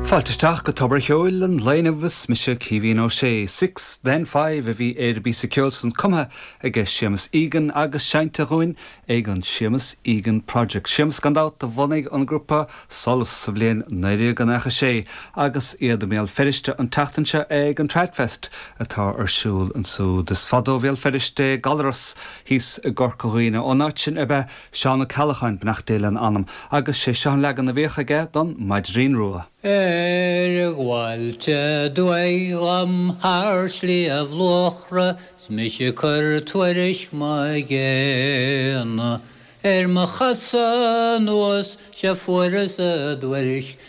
Fáilte isteach go Tobar Cheoil an lae inniu is mise Caoimhín Ó Sé. Six Then Five a bhí ar an bpíosa ceoil san cumtha aige Séamus Egan agus seinnte dhúinn ag an Séamus Egan Project. Séamus gan dabht a bhunaigh an grúpa Solas sa bhliain 1996 agus iad i mBéal Feirste an tseachtain seo ag an Tradfest atá ar siúl ansúd. Is fada ó Bhéal Feirste é Gallarus thíos i gCorca Dhuibhne. Ón áit sin ab ea Seán Ó Ceallacháin, beannacht Dé lena anam, agus sé seo an leagan a bhíodh aige don Mhaidrín Rua. Ar ghabháilt aduaidh dhom thar Shliabh Luachra 's mise ag cur tuairisc mo ghéana ar mo chasadh anuas 'sea fuaireas a dtuairisc.